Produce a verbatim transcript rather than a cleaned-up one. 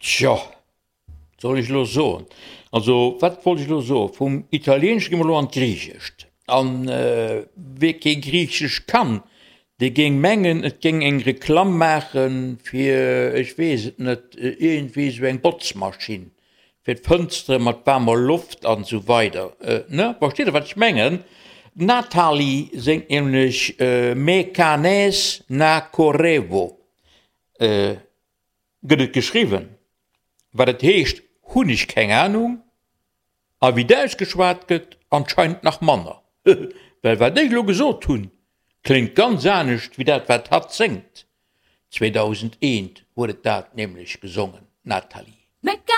Tjo, wat soll ech elo soen? Also, wat wollt ech elo soen? Vum Italieenesche gi mer elo an d'Griichescht. An wie kee Griichesch kann, dee géing mengen, et géing eng Reklamm maache fir, ech weess et net, iergendwéi esou eng Botzmaschinn, fir d'Fënstere mat waarmer Loft an esou weider. Ne? Versteet Der, wat ech mengen? D'Natali séngt nämlech Me kanes na korevo. Gëtt et geschriwwen. Wat et heescht, hunn ech keng Anung, a wéi et ausgeschwat gëtt, anscheinend nach manner. Well wat ech elo gesot hunn, kléngt ganz anescht wéi dat wat hatt séngt. zweedausendeent huet et dat nämlech gesongen, d'Nathalie.